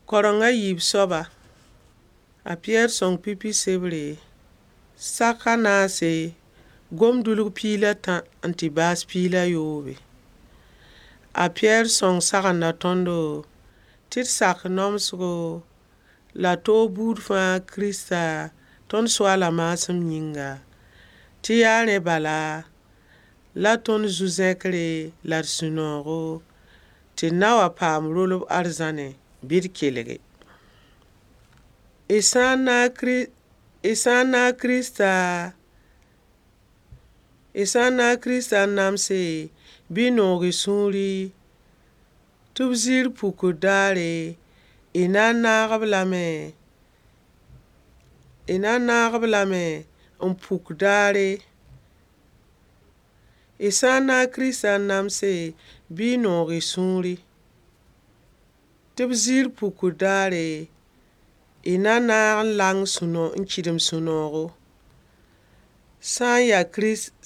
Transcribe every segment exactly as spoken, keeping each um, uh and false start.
Kareng a yiib soaba, a Piyɛr sõng pipi sebre, sak a naase, gom-dulg piig la tã n tɩ baas piig la yoobe. A Piyɛr sõng sagenda tõndo tɩ d sak nomsgo la toog buud fãa Kirista tõnd Soaala maasem yĩnga, tɩ yaa rẽ bala la tõnd zu-zẽkre la d sũ-noogo tɩ d na wa paam rolb arzãnẽ bɩ d kelge. Y sã n naag y sã n naag Kirista, y sã n naag Kirista n namse, bɩ y noog y sũuri tɩ b ziir pukd daare, y na n naag-b lame, y na n naag-b lame n puk daare. Y sã n naag Kirista n namse, bɩ y noog y sũuri tɩ b ziir pukd daare, y na naag n lang n kɩdem sũ-noogo. Sã n yaa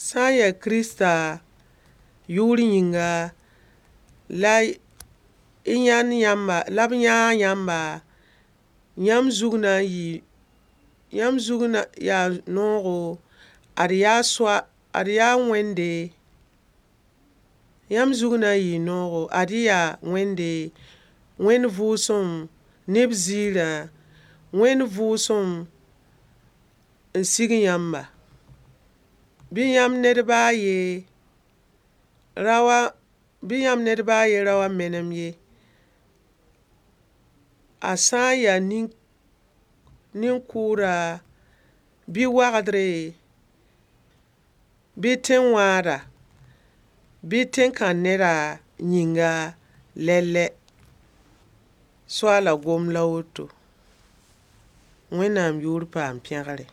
sã n yaa Kirista yʋʋr yĩnga, la y yãnd yãmba, la b yãag yãmba, yãmb zug na n yɩɩ yãmb zug na yaa noogo, ad yaa soa ad yaa Wẽnde, yãmb zug na n yɩɩ noogo, ad-y yaa Wẽnde, Wẽnd vʋʋsem ne b ziirã, Wẽnd vʋʋsem n sig yãmba. Bɩ yãmb ned ba a yen ra wa bɩ yãmb ned ba a yen ra wa menem ye. A sã n yaa nin-kʋʋda, bɩ wagdre, bɩ tẽn-wãada, bɩ tẽn-kãn-neda yĩnga lɛlɛ. Soaala gomd la woto. Wẽnnaam yʋʋr paam pẽgre.